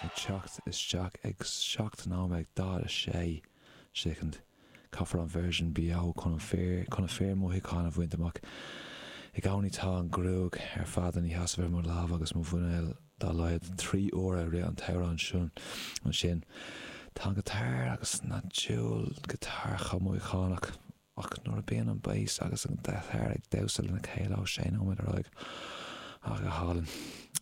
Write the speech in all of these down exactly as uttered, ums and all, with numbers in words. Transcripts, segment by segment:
ag teacht isteach ag seacht nóiméad daichead a sé soicind. Caithfear an version beo chun an fíor chun an fíor mothúchán a bhaint amach. I gcónaí tá an ghruaig ar fad ina sheasamh ar mo lámh agus mo mhuineál dá laghad trí huaire i rith an t-amhrán sin ansin. Tá an giotár agus na dúil giotár chomh mothúchánach ach nuair a bíonn an bass agus an giotár ag damhsa lena chéile ó sé nóiméad ar aghaidh ach go hálainn.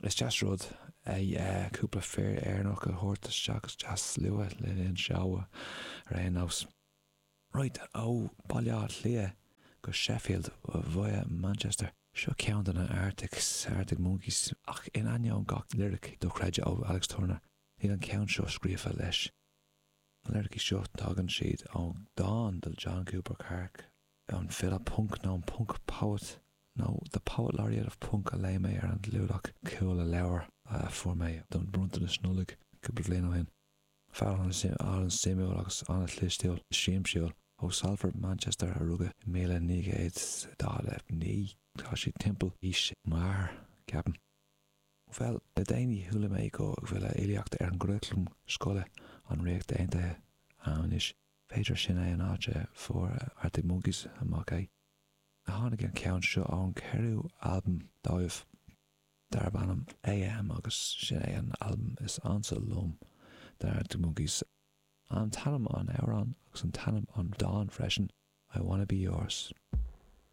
Is deas rud é cúpla fear Éireannach a thabhairt isteach is deas luath le linn seó ar aon nós. Right ó Baile Átha Cliath go Sheffield via Manchester. Seo ceann de na Arctic Arctic Monkeys ach in ainneoin gach lyric dochreidte ó Alex Turner, níl an ceann seo scríofa leis. Na liricí seo tagann siad ó dán de John Cooper Clarke an file punk nó an punk poet nó The Poet Laureate of Punk a léigh mé ar an gclúdach cúl a leabhar a fuair mé don bronntanas Nollag cúpla bliain ó shin. Fear an-suimiúil agus an-chlistiúil siamsúil ó Salford Manchester a rugadh i míle naoi gcéad daichead a naoi tá sé timpeall aois m'athar ceapaim. Bhuel le déanaí chuala mé go bhfuil a fhilíocht ar an gcuraclam scoile an Ríocht Aontaithe anois. B'fhéidir sin é an áit a fuair Arctic Monkeys amach é. Tháinig an ceann seo ón ceathrú albam dóibh darb ainm AM agus sin é an albam is ansa liom de Arctic Monkeys. An t-ainm an amhrán agus an t-ainm an dán freisin I wanna be yours.